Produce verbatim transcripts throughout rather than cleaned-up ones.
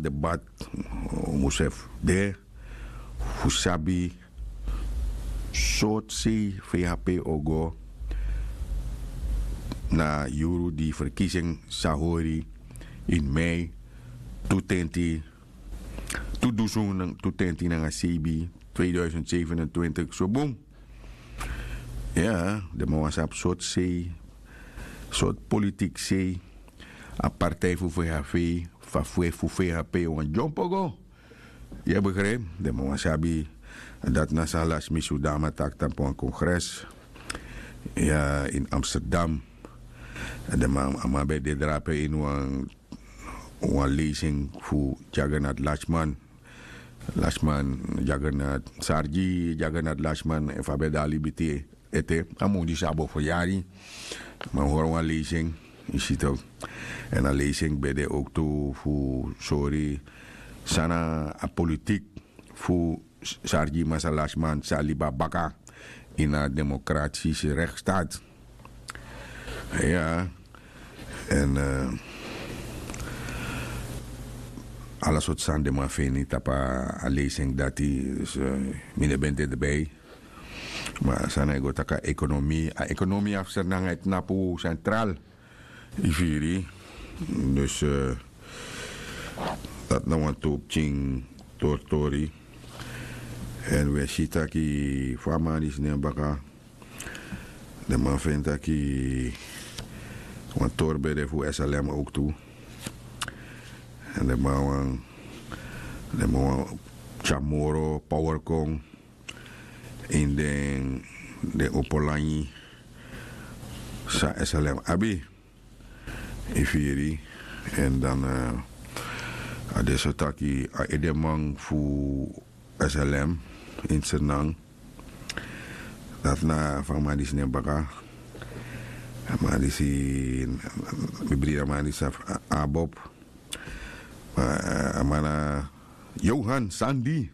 debat, un mus efu de fu sabi sortu sei fei hape o go na yuru di ferkisi en sa hori ini mei tu tenti tu dusun tu tenti nanga seibi, tweeduizend zevenentwintig so bun. Ya den man wani sabi sortu sei sortu politik sei a partij fu fei hape fa fei fu fei hape wani dyompo go. Ya begrijp den man wani sabi. Dati na san lasi mi sudama taki tapu wan kongres ya ini amsterdam. Den man a man ben de drape ini wan wan lezing fu jagernat lasman. Lasman jagernat sargi jagernat lasman efu a ben de a libi te ete a mun disi a bo feryari. Ma un hori wan lezing yu si tok. Èn a lezing ben de owktu fu sori san na a politik fu sargi masra lasman san libi a baka ini a demokratisi rekstaat. Ya. Èn ala sortu sani den man feni tapu a lezing dati. Mi no ben de derbei. Ma a sani a e go taki a ekonomi a ekonomi a fu sernanga e tnapu sentral. Yu firi? Dus dati na wan tu pikin tori tori. Èn wi e si taki fu a man disi nen baka den man feni taki wan tori ben de fu slm owktu. Èn den man wani den man wani tyari moro power kon ini den opo langi san slm abi. Yu firi? Èn dan a de so taki a edeman fu slm ini sernan. Dati na fu a man disi nen baka. A man disi mi brida man disi a bob. A man na johan sandi.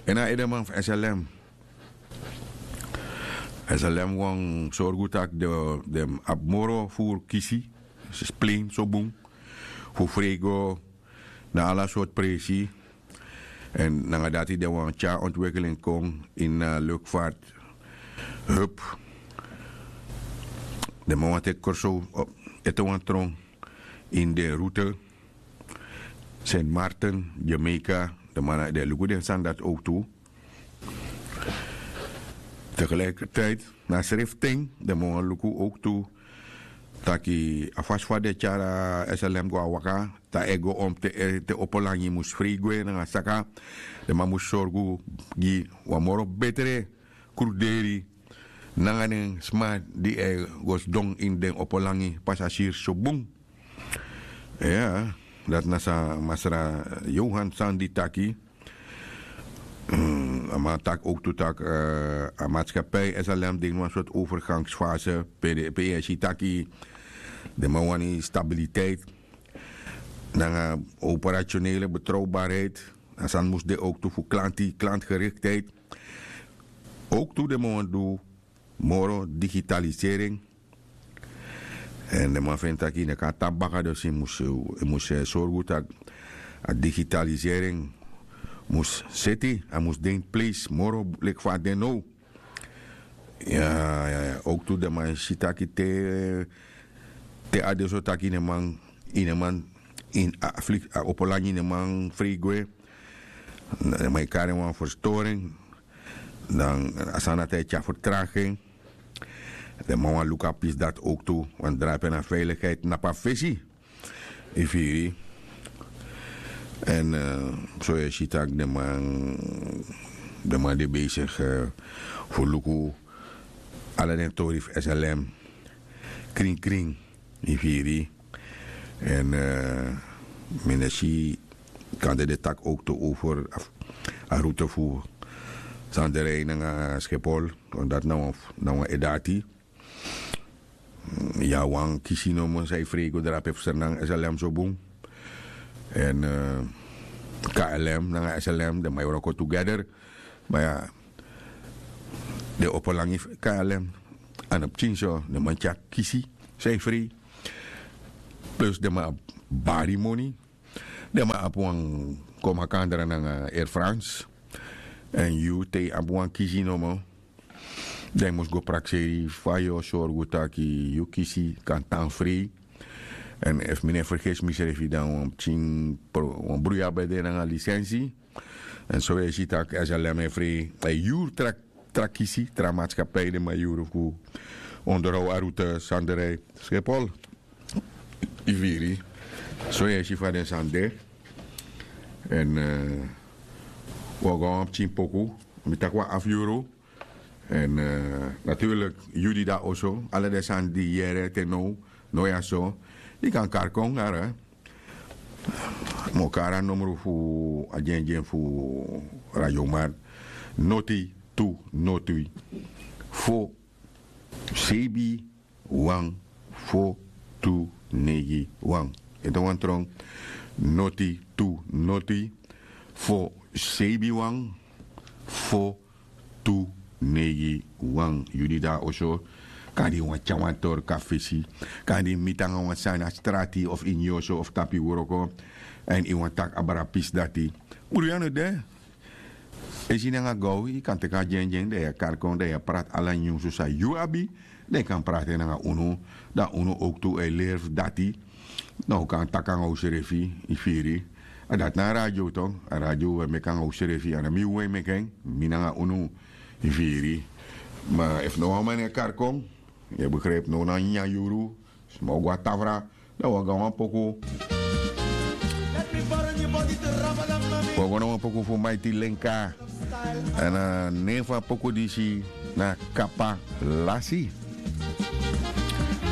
Èn a edeman fu slm. Slm wani sorgu tak' den abi moro furu kisi splein so bun fu frei go na ala sortu presi. Èn nanga dati den wani tyari ontwikkeling kon ini a lukfart hup. Den man wani teki korsow ete wan tron ini den route. Sint martin, jamaica. Den man na den luku den sani dati owktu. Tegelijkertijd na srifting den man wani luku owktu taki a fasi fa den tyari a slm go na waka dan e go om te opo langi mus frei gwe nanga saka. Den man mus sorgu gi wan moro betre kruderi nanga den sma di e go sidon ini den opo langi pasasiri so bun. Ya, dati na san masra johan sandi taki. A man taki owktu tak' a matskapij slm de ini wan sortu overgangsfase. Pe yu e si taki den man wani stabiliteit nanga operationele betrowbarheid. A sani mus de owktu fu klanti klantgeriktheid. Owktu den man wani du moro digitalisering. Èn den man feni tak' yu no kan tapu baka dus yu mus sorgu tak' a digitalisering mus seti a mus de ini pleisi moro leki fa a de now. Ya, owktu den man si tak' te a de so tak' yu no man yu no man ini a fliki a opo langi yu no man frei gwe. Den man e kari en wan ferstoring. Dan a sani dati e tyari fertragi en. Den man wani luku a pisi dati owktu wani drape na veiligheid na pa fesi. Yu firi? Èn so yu e si tak' den man den man de besig fu luku ala den tori fu slm krin krin. Yu firi? Èn mi no e si kande den taki owktu over a route fu sanderei nanga skepol. Dati na wan ede ati. Ya wan kisi nomo san e frei go drape fu sernang slm so bun. Èn klm nanga slm den man e wroko tugeder. Ma ya den opo langi fu klm a no pikin so den man tyari kisi san e frei. Plus den man abi bari moni. Den man abi wan komakandra nanga Air France. Èn yu te yu abi wan kisi nomo, dan yu mus go prakseri fa yu o sorgu taki yu kisi kan tan frei. Èn efu mi no e fergesi misrefi dan wan pikin wan bruya ben de nanga lisensi. Èn so yu e si tak' S L M e frei a e yuru tra kisi tra matskapi den man yuru fu onderhow a route sandrij Schiphol. Yu firi? So yu e si fa den sani de. Èn un o go na wan pikin poku. Mi taki wan afu yuru. Èn naturlik yu di de na oso ala den sani di yu yere te now, now ya so yu kan kari kon. Ara mi o kari a nomru fu a dyendyen fu radioman. Noti tu noti fo seibi wan fo tu neigi wan. Ete wan tron. Noti tu noti fo seibi wan fo tu neigi wan. Yu di de na oso, kan di wan tyari wan torka fesi, kan di miti nanga wan sani na strati of ini yu oso of tapu yu wroko, èn yu wani taki abra pisi dati. Bruya no de. Esi nanga gaw yu kan teki a dyendyen dan yu e kari kon dan yu e prati ala nyunsu san yu abi. Dan yu kan prati en nanga unu. Dan unu owktu e leri fu dati. Dan un kan taki nanga unsrefi. Yu firi? A dati na a radio tok. A radio un e meki nanga unsrefi a no mi un e meki en. Mi nanga unu. Yu firi? Ma efu no wan man e kari kon, yu e begripi no na nyanyan yuru. Sma o go na tafra. Dan wi o go na wan poku. Wi o go na wan poku fu maiti lenka. Èn a nen fu a poku disi na kapalasi.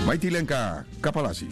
Maiti lenka, kapalasi.